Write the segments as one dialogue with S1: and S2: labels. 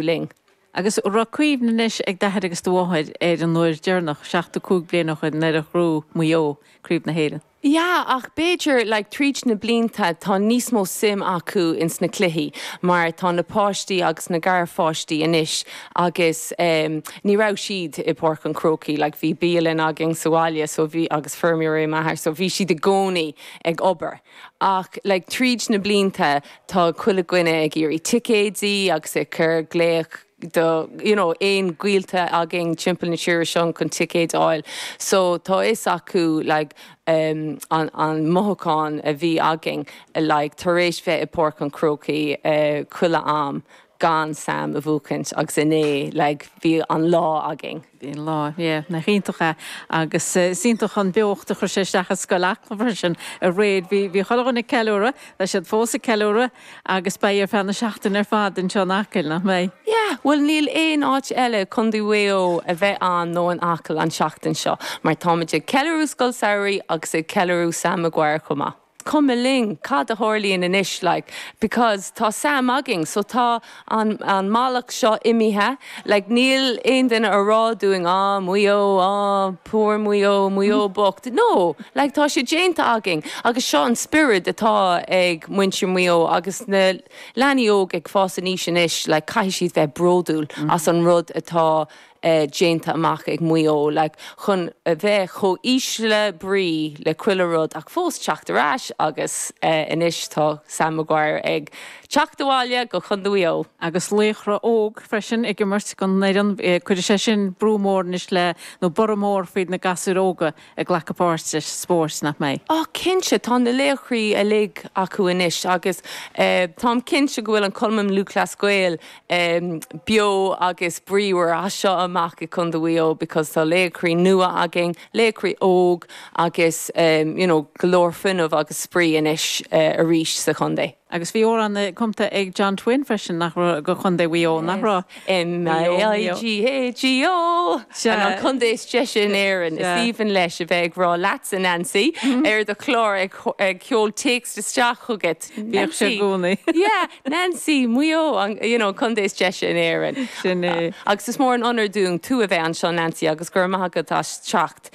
S1: Linn.
S2: Agus an raibh cuimhne anois ag d'athair agus do mháthair ar an uair deireanach, 75 bliain ó shoin, nuair a ghnóthaigh Maigh Eo Craobh na hÉireann?
S1: Yeah, ach b'fhéidir, like, tríd na blianta tá níos mó suim acu ins na cluichí mar tá na páistí agus na garpháistí anois agus em ní raibh siad i Páirc an Chrócaigh, like, bhí bialann againn sa bhaile so bhí, agus feirmeoir é m'athair so bhí siad i gcónaí ag obair. Ach, like, tríd na blianta tá chuile dhuine ag iarraidh ticéidí agus ag cur glaoch do, you know, aon ghaolta againn timpeall na tíre seo chun ticéid a fháil. So tá fhios acu, like, um, an, an mothúchán a bhí againn, like, tar éis bheith i Páirc an Chrócaigh, eh, chuile am gan Sam a bhuachaint agus inné, like, bhí an lá againn.
S2: Bhí an lá, yeah, nach iontach é. Agus is iontach an beocht a chuir sé isteach i Scoil Acla freisin aréir. Bhí, bhí chuile dhuine ag ceiliúradh, tá siad fós ag ceiliúradh agus beidh ar feadh na seachtaine ar fad anseo in Acaill, nach mbeidh?
S1: Yeah, bhuel níl aon áit eile i Contae Mhaigh Eo a bheith ann nó in Acaill an tseachtain seo mar táimid ag ceiliúradh Scoil Samhraidh agus ag ceiliúradh Sam Maguire chomh maith. cuma linn cad a tharlaíonn anois like because tá Sam againn so tá an an mallacht seo imithe like níl aon duine a rá dúinn ah Maigh Eo ah poor Maigh Eo Maigh Eo bocht no like tá sé déanta againn agus seo an spiorad atá ag muintir Mhaigh Eo agus na leanaí óg ag fás aníos anois like caithfidh siad bheith bródúil as an rud atá déanta amach ag Maigh Eo, like, chun a bheith chomh ísle brí le chuile rud ach fós teacht ar ais agus anois tá Sam Maguire ag teacht abhaile go Contae Mhaigh Eo.
S2: Agus laochra óg freisin ag imirt don fhoireann, cuirfidh sé sin brú mór anois le, nó borradh mór faoi na gasúir óga ag glacadh páirt sa spórt, nach mbeidh?
S1: Á, cinnte, tá na laochraí uilig acu anois agus táim cinnte go bhfuil an Cumann Lúthchleas Gael beo agus bríomhar as seo amach i Contae Mhaigh Eo because tá laochraí nua againn, laochraí óg agus you know go leor fuinneamh agus spraoi anois arís sa chontae.
S2: Agus bhí amhrán cumta ag John Twin freisin, nach raibh, do Chontae Mhaigh Eo, nach raibh?
S1: M-A-I-G-H-E-O! An contae is deise in Éirinn. Is aoibhinn leis a bheith ag rá leatsa, Nancy, ar do chlár ag seol téacs isteach chugat.
S2: Bhíodh sé i gcónaí.
S1: Yeah, Nancy, Maigh Eo, an, you know, contae is deise in Éirinn.
S2: Sin é.
S1: Agus is mór an onóir dúinn tú a bheith anseo, Nancy, agus go raibh maith agat as teacht.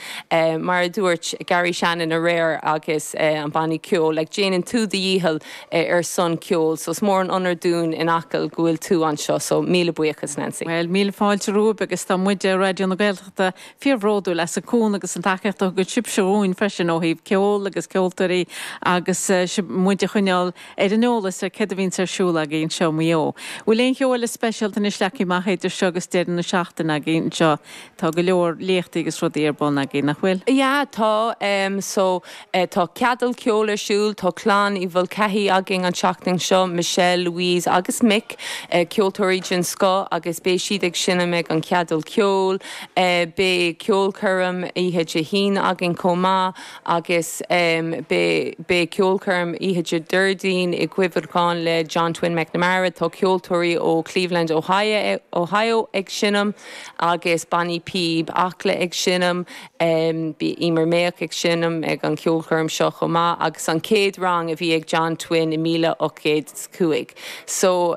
S1: Mar a dúirt Gary Shannon aréir agus an banna ceoil, like, déanann tú do dhícheall ar son ceoil, so is mór an onóir dúinn in Acaill go bhfuil tú anseo, so míle buíochas, Nancy.
S2: Bhuel, míle fáilte romhaibh agus tá muide i Raidió na Gaeltachta fíorbhródúil as an cúnamh agus an tacaíocht a thugann sibhse dhúinn freisin ó thaobh ceol agus ceoltóirí agus sibh muid a choinneáil ar an eolas ar céard a bhíonns ar siúl agaibh anseo i Maigh Eo. Bhfuil aon cheo eile speisialta anois leagtha amach idir seo agus deireadh na seachtaine agaibh anseo? Tá go leor léachtaí agus rudaí ar bun agaibh, nach bhfuil?
S1: Yeah, tá. So, tá ceadal ceoil ar siúl, tá clann Uí Mhulcahy againn an tseachtain seo, Michelle, Louise agus Mick, ceoltóirí den scoth agus beidh siad ag seinm ag an cheadal ceoil. Beidh ceolchoirm oíche Dé hAoine againn chomh maith agus beidh beidh ceolchoirm oíche Dé Déardaoin i gcuimhneachán le John Twin McNamara. Tá ceoltóirí ó Cleveland, Ohio, Ohio ag seinm agus bannaí píob Acla ag seinm. Beidh Emer Mayock ag seinm ag an cheolchoirm seo chomh maith agus an chéad rang a bhí ag John Twin i 1805. So,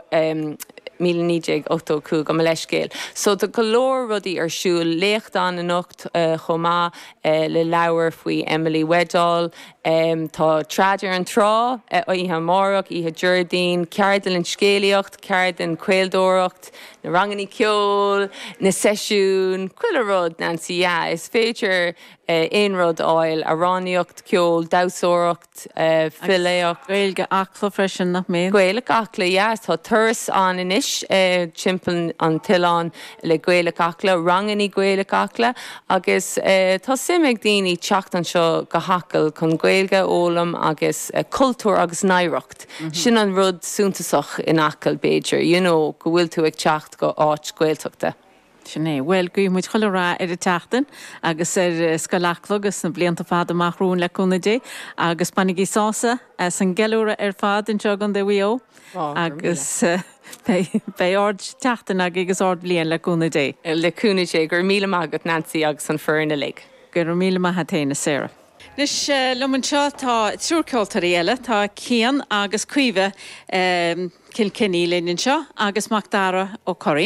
S1: 1985, gabh mo leithscéal. So tá go leor rudaí ar siúl, léacht ann anocht chomh maith le leabhar faoi Emily Weddall. Tá Trad ar an Trá oíche amárach, oíche Déardaoin, ceardlann scéalaíocht, ceardlann caoladóireacht, na rangannaí ceoil, na seisiúin, chuile rud, Nancy, yeah, is féidir aon rud a fháil, amhránaíocht, ceol, damhsóireacht, filíocht.
S2: Gaeilge Acla freisin, nach
S1: mbíonn? Gaeilge Acla, yeah. Tá turas ann anois timpeall an t-oileán le Gaeilge Acla, rangannaí Gaeilge Acla agus tá suim ag daoine teacht anseo go hAcaill chun Gaeilge a fhoghlaim agus cultúr agus oidhreacht. Sin an rud suntasach in Acaill b'fhéidir, you know, go bhfuil tú ag teacht go áit Gaeltachta.
S2: Sin é. Bhuel, guífidh muid chuile rath ar an tseachtain agus ar Scoil Acla agus na blianta fada amach romhainn le cúnamh Dé agus bainigí sásamh as an gceiliúradh ar fad anseo i gContae Mhaigh Eo agus beidh ard-tseachtain agaibh agus ard-bhliain le cúnamh Dé.
S1: Le cúnamh Dé. Go raibh míle maith agat Nancy agus an foireann uilig.
S2: Go raibh míle maith a't fhéin a Sarah. Anois liom anseo tá triúr ceoltóirí eile, tá Cian agus Caoimhe Kilkenny linn anseo agus Macdara Ó Curraoin.